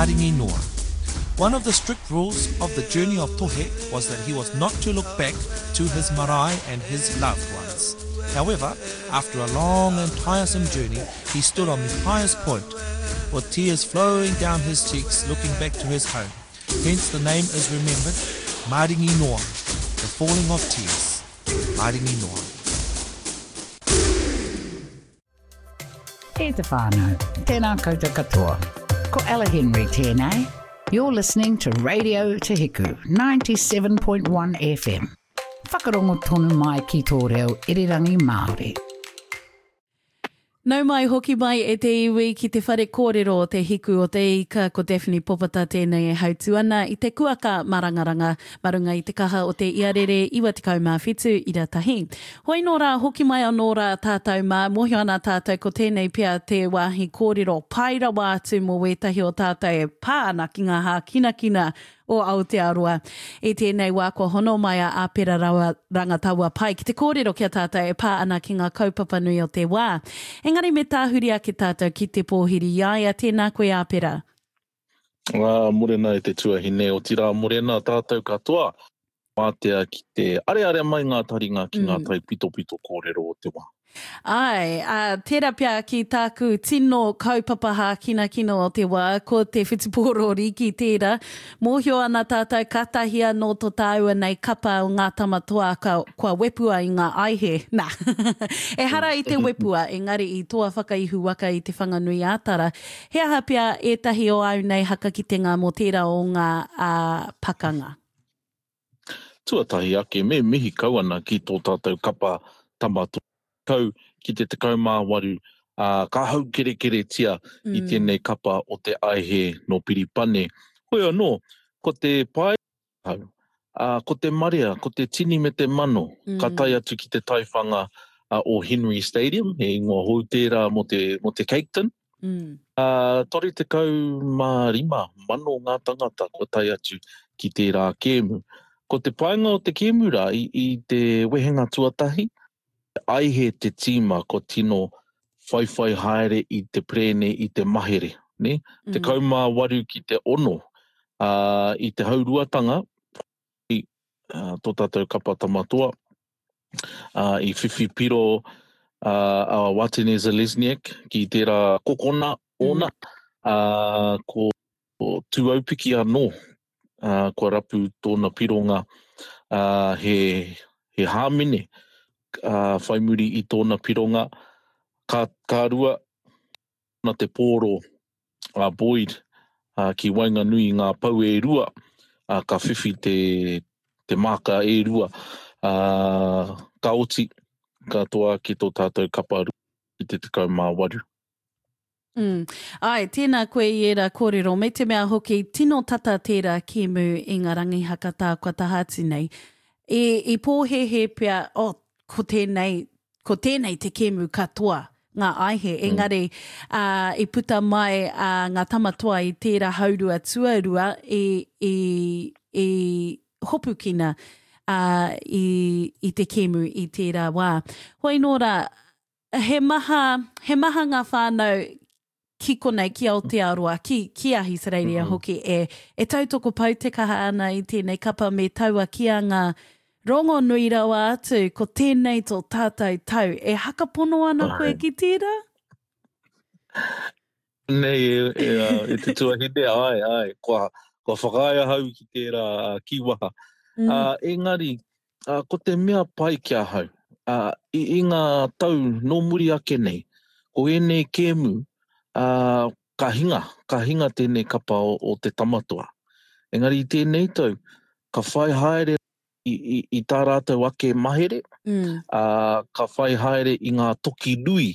Maringi Noa. One of the strict rules of the journey of Tohe was that he was not to look back to his marae and his loved ones. However, after a long and tiresome journey, he stood on the highest point, with tears flowing down his cheeks looking back to his home. Hence the name is remembered, Maringi Noa, the falling of tears. Maringi Noa. E te whānau, tēnā koutou katoa. Ko Ella Henry tēnei. You're listening to Radio Te Hiku, 97.1 FM. Whakarongo tonu mai ki tō reo irirangi Māori. Nau mai hoki mai e te iwi ki te whare kōrero o Te Hiku o Te Ika, ko Daphne Popata tēnei e hautū ana i te kuaka marangaranga ma runga i te kaha o te iarere 97 ira tahi. Hoi nō rā, hoki mai anō rā tātou mā, mōhio ana tātou ko tēnei pea te wāhi kōrero pai rawa atu mō wētahi o tātou e pā ana ki ngā hākinakina o Aotearoa. I tēnei wā kua hono mai a Āpera Rangataua Pai ki te kōrero ki a tātou e pā ana ki ngā kaupapa nui o te wā. Engari me tāhuri ake tātou ki te pōhiri i a ia, tēnā koe Āpera. Ā, morena e te tuahine, otirā morena tātou katoa, wātea ki te areare mai ngā taringa ki ngā taipitopito kōrero o te wā. Āe, ā, tērā pea ki tāku tino kaupapa hākinakina o te wā, ko te whutupōro rīki tērā. Mōhio ana tātou kātahi anō tō tāua nei kapa o Ngā Tama Toa ka, kua wepua i ngā aihe. Nā, ehara i te wepua, engari i toa whakaihu waka i Te Whanganui-ā-Tara. He aha pea ētahi o āu nei hakakitenga mō tērā o ngā, ā, pakanga? Tuatahi ake, me mihi kau ana ki tō tātou kapa tama kau ki te 18, ā, ka haukerekeretia i tēnei kapa o te aihe nō Piripane. Hoi anō, ko te pae hau, ā, ko te marea, ko te tini me te mano, ka tae atu ki te taiwhanga o Henry Stadium, he ingoa hou tērā mō te, mō te Caketon. Ā, 35 mano ngā tangata kua tae atu ki tērā kēmu. Ko te painga o te kēmu rā, i, i te wehenga tuatahi, aihe te tīma kua tino whaiwhai haere i te perēne i te mahere, nē? 18 ki te ono, ā, i te hauruatanga, i tō tātou kapa Tamatoa, ā, i whiwhi piro a Watene Zelezniak ki tērā kokona ōna, ā, ko Tūaupiki anō, ā, kua rapu tōna pironga, ā, he, he hāmene, ā, whai muri i tōna pironga, ka, ka rua, na te pōro a Boyd ki waenganui i ngā pou e rua, ka whiwhi te, te māka e rua, ka oti, ka toa ake tō tātou kapa ki te 18. Mm. Āe, tēnā koe i ērā kōrero, me te mea hoki, tino tata tērā kēmu i ngā rangi hakatā kua taha atu nei. I, i pōhēhē pea, oh, ko tēnei, ko tēnei te kēmu katoa, ngā aihe, engari ā, i puta mai ā, ngā tama toa i tērā haurua tuarua i, i, i hopukina ā, i, i te kēmu i tērā wā. Hoi nō rā, he maha, he maha ngā whānau ki konei, ki Aotearoa, ki, ki Ahitereiria hoki e, e tautoko pau te kaha ana i tēnei kapa me taua kīanga rongonui rawa atu, ko tēnei tō tātou tau. E hakapono ana koe ki tērā? Nei e, e, e te tuahine, ai, ai, kua, kua whakaae ahau ki tērā kīwaha. Mm. Uh, engari, uh, ko te mea pai ki ahau, uh, i, i ngā tau nō muri ake nei, ko ēnei kēmu, uh, ka hinga, ka hinga tēnei kapa o, o te tamatoa. Engari i tēnei tau, ka whai haere i, i, i tā rātou ake mahere, mm. uh, ka whai haere i ngā toki nui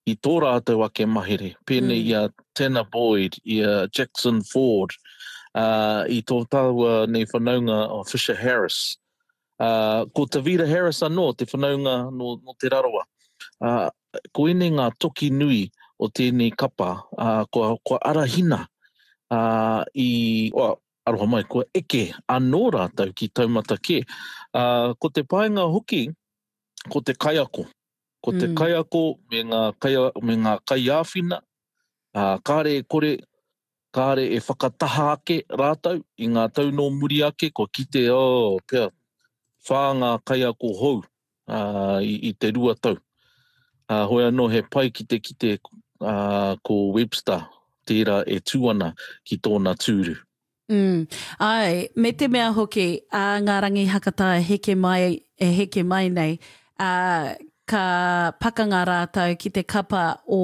i tō rātou ake mahere, pēnei mm. i a Tanner Boyd, i a Jackson Ford, uh, i tō tāua nei whanaunga o Fisher Harris. Uh, ko Tavita Harris anō, te whanaunga nō, nō Te Rarawa. Uh, ko ēnei ngā toki nui o tēnei kapa, uh, kua, kua arahina uh, i, well, aroha mai, kua eke anō rātou ki taumata kē. Uh, ko te painga hoki, ko te kaiako. Ko te mm. kaiako me ngā, kai, me ngā kaiāwhina, uh, kāre e kore, kāre e whakataha ake rātou i ngā tau nō muri ake, kua kite, oh, pea, whā ngā kaiako hou uh, i, i te rua tau. Uh, hoi anō he pai ki te kite uh, ko Webster tērā e tū ana ki tōna tūru. Mm, āe, me te mea hoki, ā ngā rangi hakatā e heke mai, e heke mai nei, ā, ka pakanga rātou ki te kapa o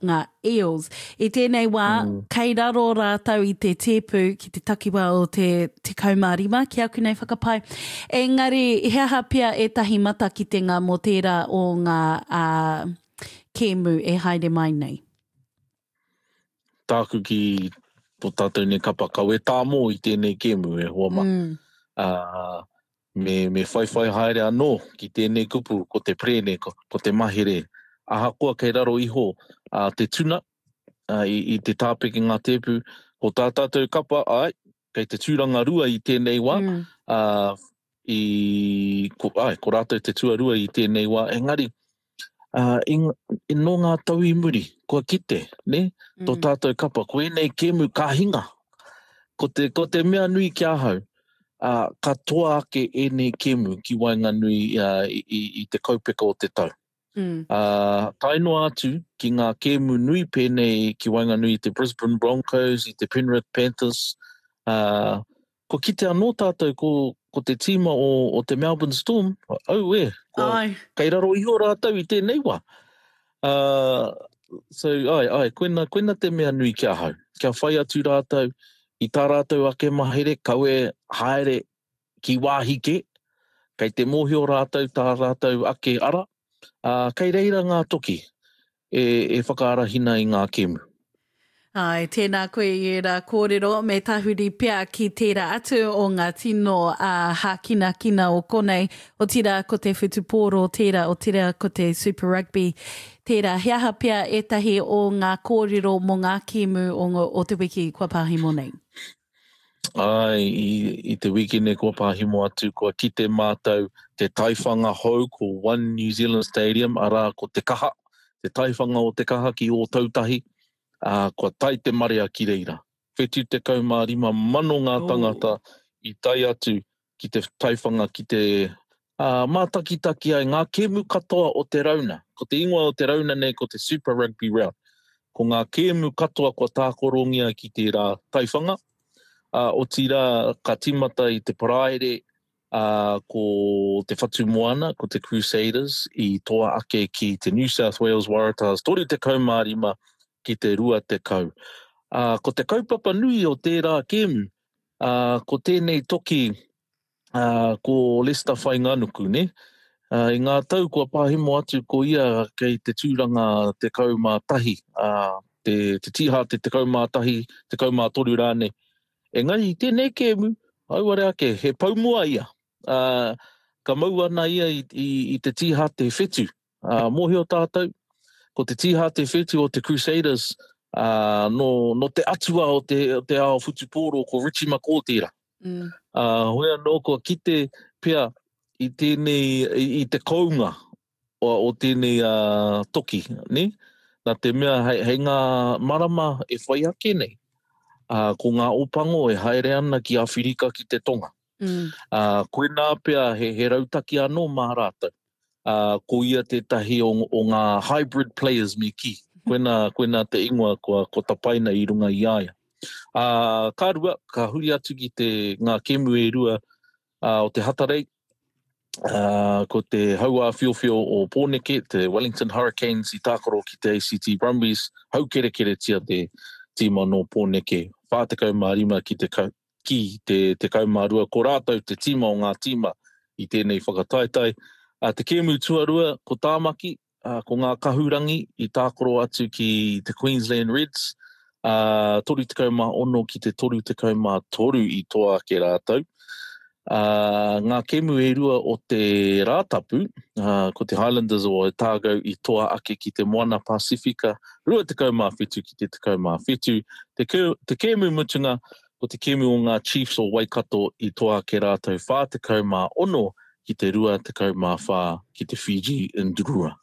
ngā Eels. I tēnei wā, mm. kei raro rātou i te tēpu ki te takiwā o te 15, ki aku nei whakapae. Engari, he aha pea ētahi matakitenga mō tērā o ngā ā, kēmu e haere mai nei? Tāku ki tō tātou nei kapa kawe tāmō i tēnei kēmu e hoa mā. Mm. Uh, me, me whaiwhai haere anō ki tēnei kupu, ko te prēne, ko, ko te mahere. Ahakoa kei raro iho uh, te tuna uh, i, i te tāpeke ngā tēpu, ko tā tātou kapa, ai, kei te tūranga rua i tēnei wā, mm. uh, i, ko, ai, ko rātou te tuarua i tēnei wā, engari, uh, i, i, nō ngā tau i muri, kua kite, ne? Mm. Tō tātou kapa, ko ēnei kēmu ka hinga. Ko te, ko te mea nui ki ahau, uh, ka toa ake ēnei kēmu ki waenganui uh, i, i, i te kaupeka o te tau. Mm. Uh, tae noa atu ki ngā kēmu nui pēnei ki waenganui i te Brisbane Broncos, i te Penrith Panthers, uh, Kua kite anō tātou ko, ko te tīma o, o te Melbourne Storm, auē, kua, ai. kei raro iho rātou i tēnei wā. Uh, so, ai, ai, koina, koina te mea nui ki ahau. Kia whai atu rātou i tā rātou ake mahere, kawe haere ki wāhi kē, kei te mōhio rātou tā rātou ake ara, uh, kei reira ngā toki e, e whakaarahina i ngā kēmu. Āe, tēnā koe i ērā kōrero, me tahuri pea ki tērā atu o ngā tino hākinakina o konei, otirā ko te whutupōro tērā, otirā ko te Super Rugby tērā. He aha pea ētahi o ngā kōrero mō ngā kēmu o, o te wiki kua pāhimo nei? Āe, i, i te wikene kua pāhimo atu, kua kite mātou te taiwhanga hou ko One New Zealand Stadium, arā ko Te Kaha, te taiwhanga o Te Kaha ki Ōtautahi, ā, kua tae te marea ki reira. 75 mano ngā tangata i tae atu ki te taiwhanga ki te ā, mātakitaki ai ngā kēmu katoa o te rauna. Ko te ingoa o te rauna nei ko te Super Rugby Round. Ko ngā kēmu katoa kua tākorongia ki tērā taiwhanga, ā, otirā ka tīmata i te Paraire ā, ko Te Whatu Moana, ko te Crusaders i toa ake ki te New South Wales Waratahs 35 ki te 20. Ā, ko te kaupapa nui o tērā kēmu, ā, ko tēnei toki, ā, ko Leicester Whainganuku, nē? Ā, i ngā tau kua pahemo atu ko ia kei te tūranga 11, ā, te, te tīhāte 11, 13 rānei. Engari i tēnei kēmu, auare ake, he poumua ia. Ā, ka mau ana ia i, i, i te tīhāte whetu. Ā, mōhio tātou, ko te tīhāte whetu o te Crusaders, ā, nō, nō te atua o te, o te ao whutupōro, ko Richie McCaw tērā. Mm. Ā, hoi anō, kua kite pea i tēnei, i, i te kounga o, o tēnei uh, toki, ne? Nā te mea hei, hei ngā marama e whai ake nei, uh, ko ngā opango e haere ana ki Awhirika ki te tonga. Mm. Uh, koinā pea he, he rautaki anō mā rātou. Uh, ko ia tētahi o, o ngā hybrid players me kī. Koinā, koinā te ingoa kua, kua tapaina i runga i a ia. Uh, ka rua, ka huri atu ki te ngā kemu e rua uh, o te Hatarei, uh, ko te hauāwhiowhio o Pōneke, te Wellington Hurricanes i tākaro ki te ACT Brumbies, haukerekeretia te tīma nō Pōneke, 45 ki te, ki te 12, ko rātou te tīma o ngā tīma i tēnei whakataetae. Uh, te kēmu tuarua, ko Tāmaki, ā, ko ngā kahurangi i tākaro atu ki te Queensland Reds, ā, 36 ki te 33 i toa ake rātou. Ā, ngā kēmu e rua o te Rātapu, ā, ko te Highlanders o Otago i toa ake ki te Moana Pasifika, 27 ki te 17. Te, te kēmu mutunga, ko te kēmu o ngā Chiefs o Waikato i toa ake rātou 46 ki te 24 ki te Fiji Ndrua.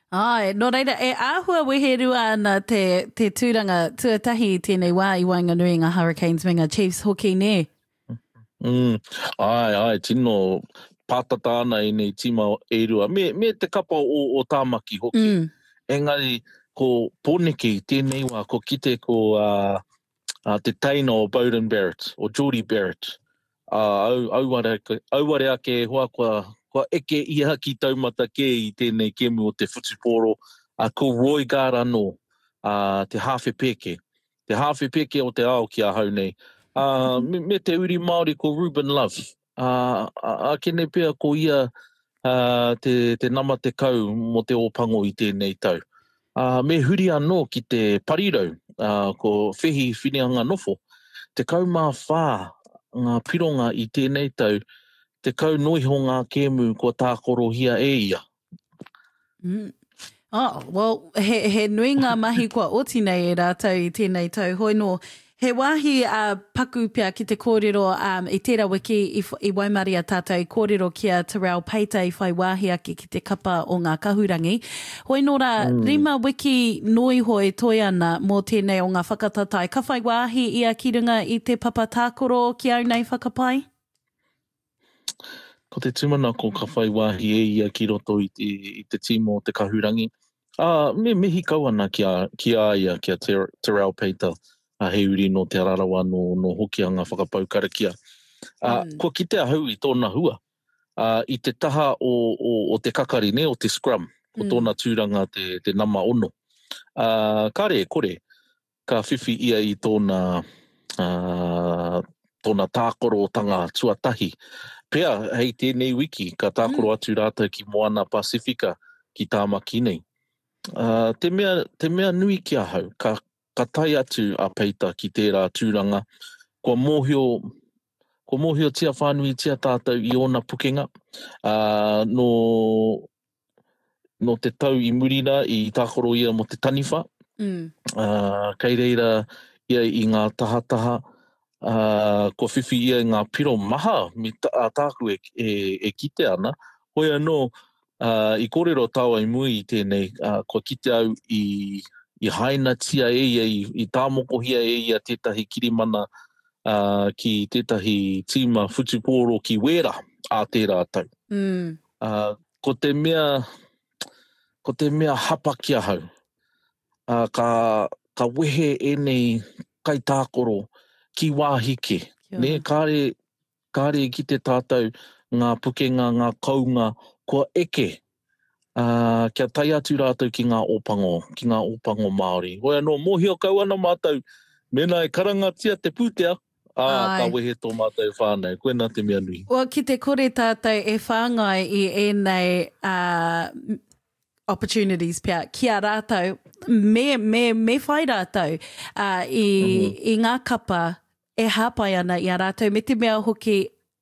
Āe, nō reira, e āhua weherua ana te, te tūranga tuatahi i tēnei wā i waenganui i ngā Hurricanes me ngā Chiefs hoki, nē? Mm, āe, āe, tino pātata ana ēnei tīma e rua, me, me te kapa o, o Tāmaki hoki. Mm. Engari, ko Pōneke i tēnei wā, ko kite ko uh, uh, te teina o Beauden Barrett, o Jordie Barrett, ā, au, auare, auare ake e hoa kua, kua eke ia ki taumata kē i tēnei kēmu o te whutupōro, ā, ko Roigard anō, ā, te hāwhe pēke, te hāwhe pēke o te ao ki ahau nei, ā, me, me te uri Māori ko Ruben Love, ā, ākene pea ko ia ā, te, te nama 10 mō te Ōpango i tēnei tau. Ā, me huri anō ki te parirau, ā, ko Wehi Whineanganofo, 14 ngā pironga i tēnei tau, 10 noa iho ngā kēmu kua tākorohia e ia. Mm. Oh, well, he, he nui ngā mahi kua oti nei e rātou i tēnei tau. Hoi nō, he wāhi uh, paku pea ki te kōrero um, i tērā wiki i, i waimaria tātou i kōrero ki a Terrell Peita i whai wāhi ake ki te kapa o ngā kahurangi. Hoi nō rā, mm. rima wiki noa iho e toe ana mō tēnei o ngā whakatatae. Ka whai wāhi ia ki runga i te papa tākoro ki au nei whakapae? Ko te tūmanako ka whai wāhi e ia ki roto i te, i te tīma o te Kahurangi. Ā, me mihi kau ana ki a, ki a ia, ki a Te, Terrell Peita, ā, he uri nō Te Rarawa, nō, nō Hokianga whakapau karakia. Ā, mm. kua kite ahau i tōna hua, ā, i te taha o, o, o te kakari, ne, o te scrum, ko mm. tōna tūranga te, te nama ono. Ā, kare, kore, ka whiwhi ia i tōna, tōna tākorotanga tuatahi. Pea, hei tēnei wiki, ka tākoro atu rātou ki Moana Pasifika, ki Tāmaki nei. Uh, te, mea, te mea nui ki ahau, ka, ka tae atu a Peita ki tērā tūranga, kua mōhio, kua mōhiotia whānuitia tātou i ōna pukenga, uh, nō nō te tau i muri rā i tākaro ia mō te taniwha. Mm. Uh, kei reira ia i ngā tahataha, uh, kua whiwhi ia i ngā piro maha me tā, tāku e, e, e kite ana. Hoi anō, uh, i kōrero tāua i muri i tēnei, uh, kua kite au i, i hainatia e ia, i, i tāmokohia e ia tētahi kirimana uh, ki tētahi tīma whutupōro ki Wēra ā tērā tau. Mm. Ā, ko te mea, ko te mea hapa ki ahau, ā, ka, ka wehe ēnei kaitākaro ki wāhi kē. Nē, kāre, kāre i kite tātou ngā pukenga, ngā kounga kua eke, ā, kia tae atu rātou ki ngā Ōpango, ki ngā Ōpango Māori. Hoi anō, mōhio kau ana mātou, mēnā e karangatia te pūtea, Ā, ka wehe tō mātou whānau. Koinā te mea nui. Well, ki te kore tātou e whāngai i ēnei uh, opportunities pea ki a rātou, me, me, me whai rātou uh, i, mm -hmm. i ngā kapa e hāpai ana i a rātou, me te mea hoki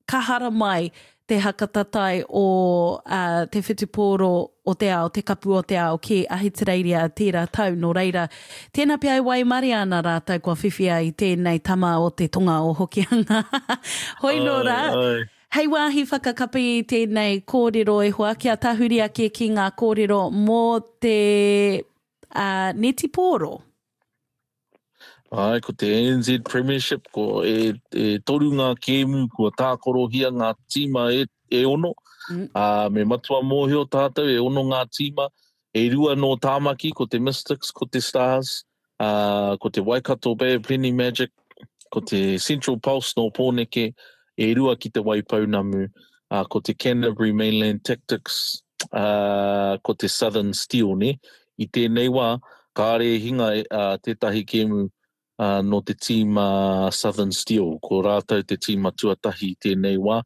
ka haramai te hakatatai o uh, te whutupōro o te ao, te kapu o te ao ki Ahitereiria tērā tau. Nō reira, tēnā pea e waimaria ana rātou kua whiwhia i tēnei tama o te tonga o Hokianga. Hoi nō rā, hei wāhi whakakapi i tēnei kōrero e hoa, kia tahuri ake ki ngā kōrero mō te uh, netipōro. Āe, ko te NZ Premiership, ko e, e toru ngā kēmu kua tākorohia ngā tīma e, e ono. Mm. Ā, me matua mōhio tātou e ono ngā tīma, e rua nō Tāmaki, ko te Mystics, ko te Stars, ā, ko te Waikato Bay of Plenty Magic, ko te Central Pulse nō Pōneke, e rua ki te Waipounamu, ā, ko te Canterbury Mainland Tactics, ā, ko te Southern Steel, nē. I tēnei wā, kāre e hinga tētahi kēmu nō te tīma Southern Steel. Ko rātou te tīma tuatahi i tēnei wā.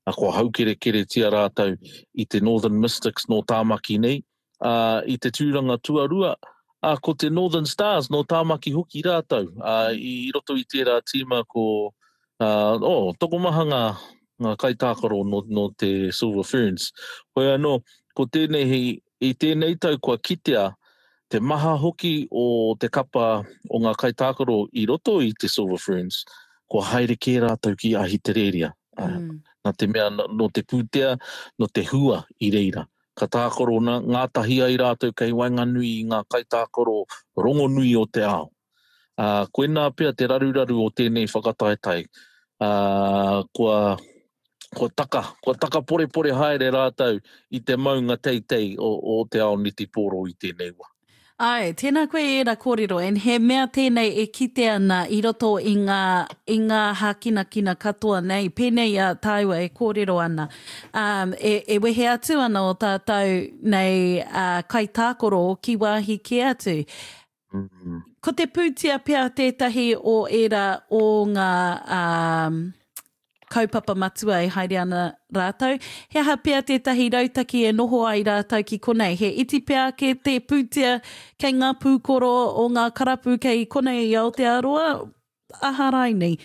Kua haukerekeretia rātou i te Northern Mystics nō Tāmaki nei. I te tūranga tuarua, ko te Northern Stars nō Tāmaki hoki rātou. I roto i tērā tīma ko oh, tokomaha ngā, ngā kaitākaro nō, nō te Silver Ferns. Hoi anō, ko tēnei, i tēnei tau kua kitea te maha hoki o te kapa o ngā kaitākaro i roto i te Silver Ferns, kua haere kē rātou ki Ahitereiria. Mm. Nā te mea nō te pūtea, nō te hua i reira. Ka tākaro ngātahi ai rātou kei waenganui i ngā kaitākaro rongonui o te ao. Ā, koinā pea te raruraru o tēnei whakataetae, ā, kua, kua taka, kua takaporepore haere rātou i te maunga teitei o, o te ao netipōro i tēnei wā. Āe, tēnā koe i ērā kōrero, and he mea tēnei e kite ana i roto i ngā, i ngā hākinakina katoa nei, pēnei i a tāua e kōrero ana. Um, e, e wehe atu ana o tātou nei uh, kaitākaro ki wāhi kē atu. Mm. Ko te pūtea pea tētahi o ērā o ngā um, kaupapa matua e haere ana rātou. He aha pea tētahi rautaki e noho ai rātou ki konei? He iti pea ake te pūtea kei ngā pūkoro o ngā karapu kei konei i Aotearoa, aha rainei?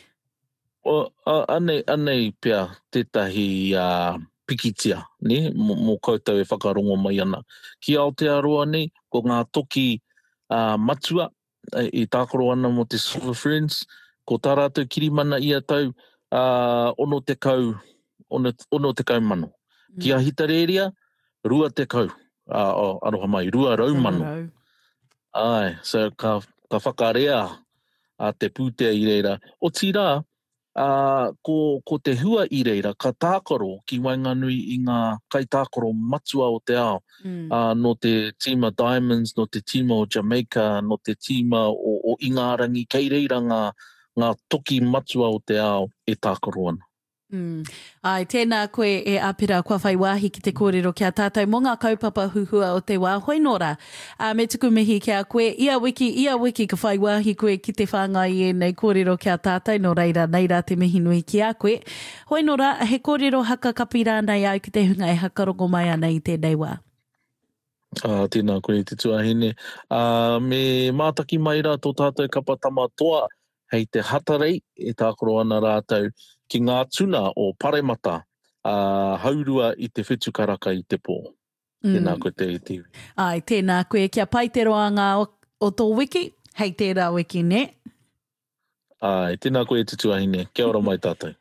O, anei, anei pea tētahi uh, pikitia, ne, mō, mō koutou e whakarongo mai ana. Ki Aotearoa nei, ko ngā toki uh, matua e tākaro ana mō te Silver Ferns, ko tā rātou kirimana ia tau, uh, 60, 60 mano. Mm. Ki Ahitarēria, 20, uh, oh, aroha mai, 200 mano. Ai, so ka, ka whakarea a te pūtea i reira. Otirā, ā, ko, ko te hua i reira, ka tākaro ki waenganui i ngā kaitākaro matua o te ao, mm. ā, nō te tīma Diamonds, nō te tīma o Jamaica, nō te tīma o, o Ingārangi, kei reira ngā, ngā toki matua o te ao e tākaro ana. Mm. Āe, tēnā koe e Apera kua whai wāhi ki te kōrero ki a tātou mō ngā kaupapa huhua o te wā. Hoi nō rā, ā, me tuku mihi ki a koe, ia wiki, ia wiki ka whai wāhi koe ki te whāngai i ēnei kōrero ki a tātou, nō reira, nei rā te mihi nui ki a koe. Hoi nō rā, he kōrero haka kapi rānei au ki te hunga e hakarongo mai ana i tēnei wā. Ā, tēnā koe e te tuahine. Ā, me mātaki mai rā tō tātou kapa Tama Toa hei te Hatarei e tākaro ana rātou ki ngā tuna o Paremata, ā, haurua i te whitu karaka i te pō. Tēnā koe te iwi. Āe, tēnā koe. Kia pai te roanga o, o tō wiki, hei tērā wiki, nē? Āe, tēnā koe e te tuahine. Kia ora mai tātou.